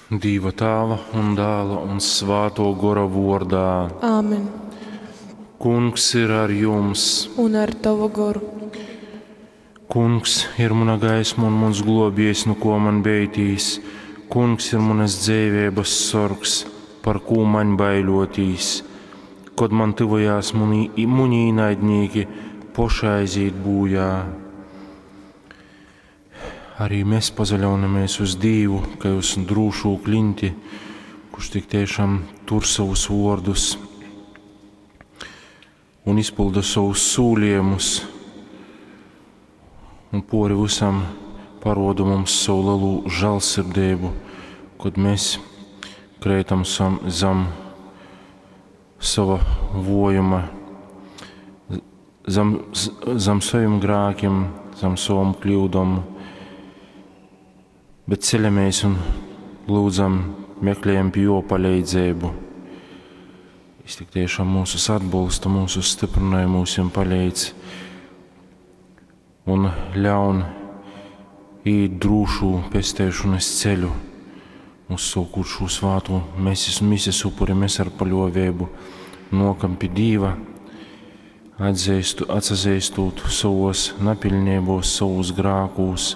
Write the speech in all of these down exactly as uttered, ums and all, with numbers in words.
Dīva Tāva un Dāla un Svātō Gora vōrdā. Āmen. Kungs ir ar jums. Un ar tavu goru. Kungs ir muna gaisma un muns globiejs, nu ko man beitīs. Kungs ir munas dzeiveibas sorgs, par kū maņ baiļotīs. Kod man tyvojās muni, muni īnaidnīki, poši aizīt būjā. Arī mēs pazaļaunamies uz Dīvu, kai uz drūšū klinti, kurš tik tiešām tur savus vōrdus un izpilda savus sūlījumus, un pori visam paroda mums savu lielu žēlsirdību, kad mēs kreitam zem sava vojuma, zem, zem saviem grēkiem, zem savam kļūdom, bet ceļamies un lūdzam, meklējam pie jo palīdzību. Viņš tik tiešām mūsus atbalsta, mūsus stiprināja, mūsim palīdz un ļaun īt drūšu pestēšanas ceļu, uzsūkot šo svāto mesis, mises upuri, mēs ar paļovēbu nokam pie Dīva, atzīstu, atsazīstot savos napilnībos, savos grākūs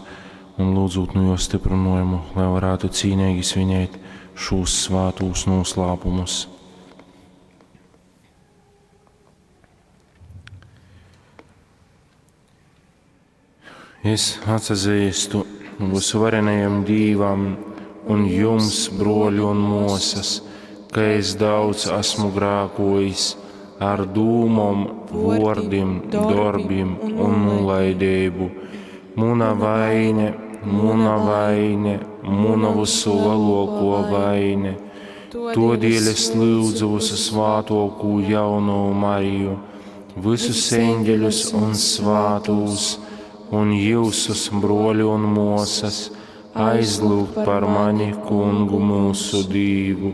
un lūdzot no jo stiprinājumu, lai varētu cīnīgi svinēt šos svātūs noslēpumus. Es atsazīstu visvarenajam Dīvam un jums, broļi un mosas, ka es daudz esmu grākojis ar dūmom, vordim, darbim un nulaidību. Muna vaine, muna vaine, muna visu lielāko vaine. Todēļ es lūdzu visu svātokū jauno Mariju, visus eņģeļus un svātūs, un jūsus, broļi un mosas, aizlūgt par mani, kungu mūsu Dīvu.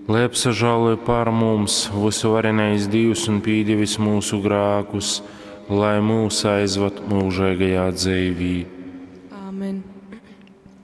Lai apsažāloja par mums visuvarenais Dīvs un pīdevis mūsu grākus, lai mūs aizvad mūžīgajā dzīvī.